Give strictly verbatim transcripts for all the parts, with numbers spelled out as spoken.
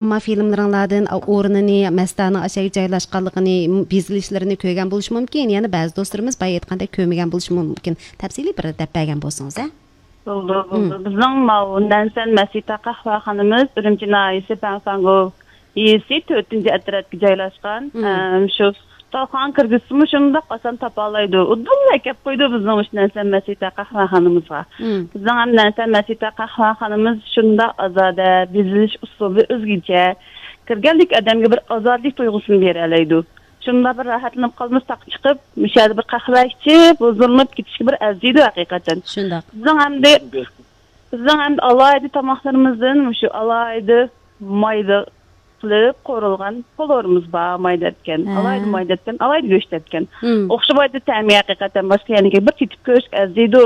ئەمما فىلىملىرىڭلاردىن ئورنىنى، مەستانىڭ ئاشەگە جايلاشقانلىقىنى، بېزىلىشلىرىنى كۆرگەن بولۇشى مۇمكىن. يەنە بەزى دوستلىرىمىز بايا ئېيتقاندەك كۆرمىگەن بولۇشى مۇمكىن. تەپسىلىي بىر دەپ بەرگەن بولسىڭىز، ھە؟ بولدى، بولدى. بىزنىڭ ماۋۇ نەنسەن مەسىتا قەھۋەخانىمىز ئۈرۈمچى ناھىيەسى پەنفەنگو يېزىسى تۆتىنچى ئەترەتكە جايلاشقان. ئەم، شۇ تاۋخانا كىرگۈزسىمۇ شۇنداق ئاسان تاپالايدۇ. ئۇدۇللا ئەكەپ قويىدۇ بىزنىڭ مۇشۇ نەنسەن مەسىتا قەھۋەخانىمىزغا. بىزنىڭ ھەم نەنسەن مەسىتا قەھۋەخانىمىز شۇنداق ئازادە، بېزىلىش ئۇسۇلى ئۆزگىچە. كىرگەنلىك ئادەمگە بىر ئازادىلىك تۇيغۇسىنى بېرەلەيدۇ. شۇنداق بىر راھەتلىنىپ قالىمىز، تاققا چىقىپ، مۇشۇ يەردە بىر قەھۋە ئىچىپ، ھۇزۇرلىنىپ كېتىشكە بىر ئەرزىيدۇ ھەقىقەتەن. شۇنداق. بىزنىڭ ئەمدى، بىزنىڭ ئەمدى ئالاھىدە تاماقلىرىمىزدىن مۇشۇ ئالاھىدە مايدا قىلىپ قورۇلغان پولۇرىمىز بار، مايدا ئەتكەن. ھە. ئالاھىدە مايدا ئەتكەن، ئالاھىدە گۆشتە ئەتكەن. ئوخشىمايدۇ تەمى ھەقىقەتەن، باشقا يەرنىڭكىگە بىر تېتىپ كۆرۈشكە ئەرزىيدۇ.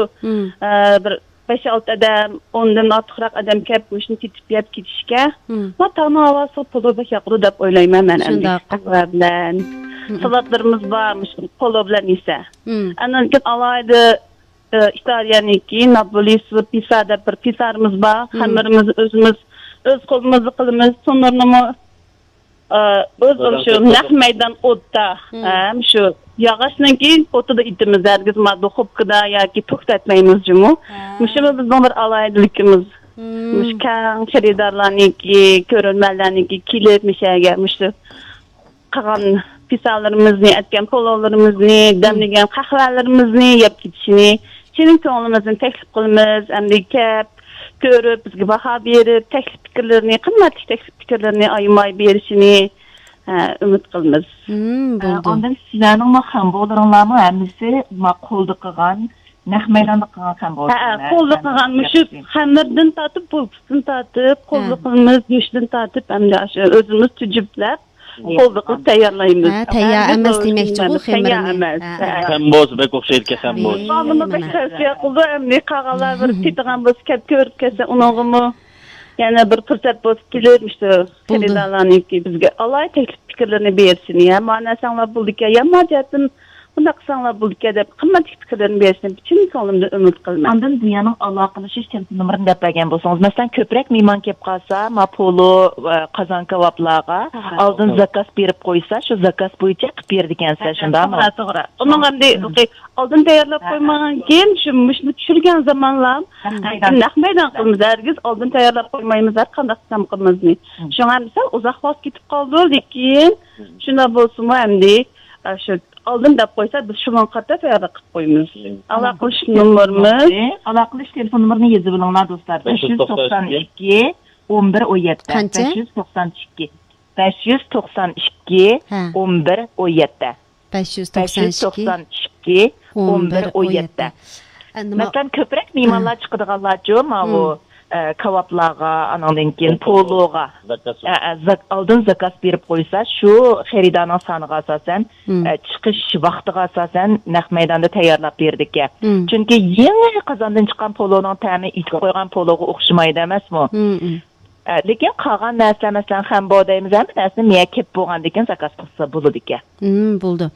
ئە، بىر بەش-ئالتە ئادەم، ئوندىن ئارتۇقراق ئادەم كەپ، مۇشۇنى تېتىپ يەپ كېتىشكە، ما تاڭنىڭ ھاۋاسىغا پولۇ بەك ياقىدۇ دەپ ئويلايمەن مەن ئەمدى. شۇنداق. قەھۋە بىلەن، سالاتلىرىمىز بار، مۇشۇ پولۇ بىلەن يېسە. ئاندىن كېيىن ئالاھىدە، ئە، ئىتالىيەنىڭكى، ناپولي پىسا دەپ بىر پىسارىمىز بار. خەمىرىمىزنى ئۆزىمىز، ئۆز قولىمىزدا قىلىمىز. تونۇرنىمۇ ئى، بىز شۇ نەق مەيدان ئوتتا، ھەم شۇ ياغاچنىڭكى ئوتىدا ئېتىمىز، ھەرگىز ما دۇخوپكىدا ياكى توكتا ئەتمەيمىز جۇمۇ. مۇشۇمۇ بىزنىڭ بىر ئالاھىدىلىكىمىز. مۇشۇ كەڭ خېرىدارلارنىڭكى، كۆرۈرمەنلەرنىڭكى كېلىپ مۇشۇ يەرگە مۇشۇ قىلغان پىسالىرىمىزنى، ئەتكەن پولۇلىرىمىزنى، دەملىگەن قەھۋەلىرىمىزنى يەپ كېتىشىنى چىن كۆڭلىمىزدىن تەكلىپ قىلىمىز. ئەمدى كەپ، كۆرۈپ، بىزگە باھا بېرىپ، تەكلىپ پىكىرلىرىنى، قىممەتلىك تەكلىپ پىكىرلىرىنى ئايىماي بېرىشىنى، ھە، ئۈمىد قىلىمىز. ھە، بولدى. ئاندىن سىلەرنىڭمۇ خەنبولىرىڭلارمۇ ھەممىسى ما قولدا قىلغان، نەق مەيداندا قىلغان خەنبولىرىڭلار. ھە، قولدا قىلغان، مۇشۇ خەمىردىن تارتىپ، بولكىسىدىن تارتىپ، قولدا قىلىمىز، گۆشتىن تارتىپ، ئەمدى ئاشۇ ئۆزىمىز تۈجۈپلەپ، قولدا قىلىپ تەييارلايمىز. ھە، تەييار ئەمەس دېمەكچىغۇ خېمىرنى. تەييار ئەمەس. ھە. خەن بولسا بەك ئوخشايدىكەن، خەن بولسا. بالىلارمۇ بەك تەۋسىيە قىلىدۇ، ئەمدى قالغانلار بىر تېتىغان بولسا كەپ كۆرۈپ كەتسە ئۇنىڭغىمۇ يەنە بىر پۇرسەت بولسا كېلىپ، مۇشۇ خېرىدارلارنىڭكى بىزگە ئالاھىدە تەكلىپ پىكىرلىرىنى بېرىشىنى، يا مانا دېسەڭلار بولىدىكەن، يا ما جەھەتتىن بۇنداق قىلساڭلار بولىدىكەن دەپ قىممەتلىك پىكىرلىرىنى بېرىشىنى چىن كۆڭلۈمدىن ئۈمىد قىلىمەن. ئاندىن دۇنيانىڭ ئالاقىلىشىش تېلېفون نومۇرىنى دەپ بەرگەن بولسىڭىز، مەسىلەن، كۆپرەك مېھمان كېلىپ قالسا، ما پولۇ، ئە، قازان كاۋاپلارغا ئالدىن زاكاز بېرىپ قويسا، شۇ زاكاز بويىچە قىلىپ بېرىدىكەنسىز، شۇنداقمۇ؟ توغرا، توغرا. ئۇنىڭ ئەمدى ئالدىن تەييارلاپ قويمىغان كېيىن، شۇ مۇشۇنى چۈشۈرگەن زامانلا، نەق مەيدان قىلىمىز، ھەرگىز ئالدىن تەييارلاپ قويمايمىز ھەر قانداق تامىقىمىزنى. شۇڭا مىسال ئۇزاق ۋاقىت كېتىپ قالىدۇ، لېكىن شۇنداق بولسىمۇ ئەمدى، ئە، شۇ ئالدىن دەپ قويسا، بىز شۇنىڭغا قارىتا تەييارلىق قىلىپ قويىمىز. ئالاقىلىشىش نومۇرىمىز. ئالاقىلىشىش تېلېفون نومۇرىنى يېزىپ ئېلىڭلار، دوستلار. بەش يۈز توقسان ئىككى، ئون بىر، ئون يەتتە. قانچە؟ بەش يۈز توقسان ئىككى. بەش يۈز توقسان ئىككى، ھە. ئون بىر، ئون يەتتە. بەش يۈز توقسان ئىككى، ئون بىر، ئون يەتتە. ئە، نېمە؟ مەسىلەن، كۆپرەك مېھمانلار چىقىدىغانلارچۇ، ماۋۇ، ئە، كاۋاپلارغا، ئانىڭدىن كېيىن پولۇغا، ئە، ئە، زاك-، ئالدىن زاكاز بېرىپ قويسا، شۇ خېرىدارنىڭ سانىغا ئاساسەن، ئە، چىقىش ۋاقتىغا ئاساسەن نەق مەيداندا تەييارلاپ بېرىدىكەن. چۈنكى يېڭى قازاندىن چىققان پولۇنىڭ تەمى ئېتىپ قويغان پولۇغا ئوخشىمايدۇ ئەمەسمۇ؟ ئە، لېكىن قالغان نەرسە، مەسىلەن، خەنبو دەيمىز، ھەممە نەرسىنى مېيە كېلىپ بولغاندىن كېيىن زاكاز قىلسا بولىدىكەن. ھىم، بولدى.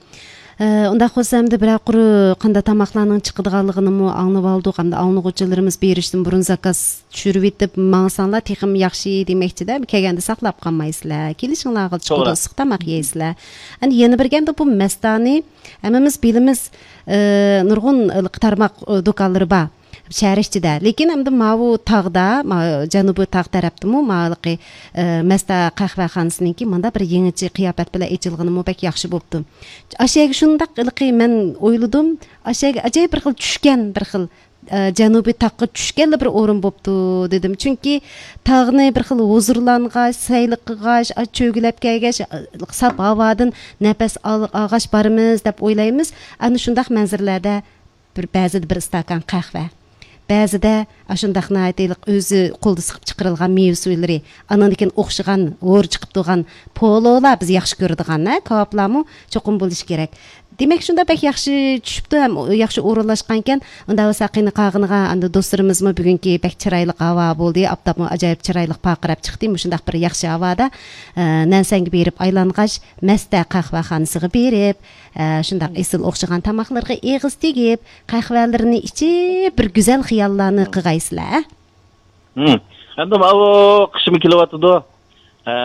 ئە، ئۇنداق بولسا ئەمدى بىرەر قۇر قانداق تاماقلارنىڭ چىقىدىغانلىقىنىمۇ ئاڭلىۋالدۇق. ئەمدى ئاڭلىغۇچىلىرىمىز بېرىشتىن بۇرۇن زاكاز چۈشۈرۈۋېتىپ ماڭساڭلار تېخىمۇ ياخشى دېمەكچىدە، كەلگەندە ساقلاپ قالمايسىلەر. كېلىشىڭلارغا چىقىدۇ، توغرا. ئىسسىق تاماق يەيسىلەر. ئەمدى يەنە بىر گەپتە بۇ مەستانى ھەممىمىز بىلىمىز، ئە، نۇرغۇن تارماق، ئە، دۇكانلىرى بار. شەھەر ئىچىدە. لېكىن ئەمدى ماۋۇ تاغدا، ما-، جەنۇبىي تاغ تەرەپتىمۇ ماۋۇلىقى، ئە، مەستە قەھۋەخانىسىنىڭكى مۇنداق بىر يېڭىچە قىياپەت بىلەن ئېچىلغىنىمۇ بەك ياخشى بوپتۇ. ئاشۇ يەرگە شۇنداق ھېلىقى مەن ئويلىدىم، ئاشۇ يەرگە ئەجايىپ بىر خىل چۈشكەن، بىر خىل، ئە، جەنۇبىي تاغقا چۈشكەنلا بىر ئورۇن بوپتۇ دېدىم. چۈنكى تاغنى بىر خىل ھۇزۇرلانغاچ، سەيلە قىلغاچ، ئا، چۆگىلەپ كەلگەچ، ئا، ساپ ھاۋادىن نەپەس ئال-، ئالغاچ بارىمىز دەپ ئويلايمىز. ئەنە شۇنداق مەنزىرىلەردە بىر، بەزىدە بىر ئىستاكان قەھۋە، بەزىدە ئاشۇنداق ناھايىتى ئۆزى قولدا سىقىپ چىقىرىلغان مېۋە سۇلىرى، ئانىڭدىن كېيىن ئوخشىغان، ھورى چىقىپ تۇرغان پولۇلار بىز ياخشى كۆرىدىغان، ھە، كاۋاپلارمۇ چوقۇم بولۇشى كېرەك. دېمەك، شۇنداق بەك ياخشى چۈشۈپتۇ ھەم ياخشى ئورۇنلاشقانىكەن. ئۇنداق بولسا قېنى قالغىنىغا ئەمدى دوستلىرىمىزمۇ بۈگۈنكى بەك چىرايلىق ھاۋا بولدى، ئاپتاپمۇ ئاجايىپ چىرايلىق پارقىراپ چىقتى. مۇشۇنداق بىر ياخشى ھاۋادا، ئە، نەنسەنگە بېرىپ ئايلانغاچ، مەستە قەھۋەخانىسىغا بېرىپ، ئە، شۇنداق ئېسىل ئوخشىغان تاماقلىرىغا ئېغىز تېگىپ، قەھۋەلىرىنى ئىچىپ، بىر گۈزەل خىياللارنى قىلغايسىلەر، ھە؟ ھىم. ئەمدى ماۋۇ قىشمۇ كېلىۋاتىدۇ. ھە،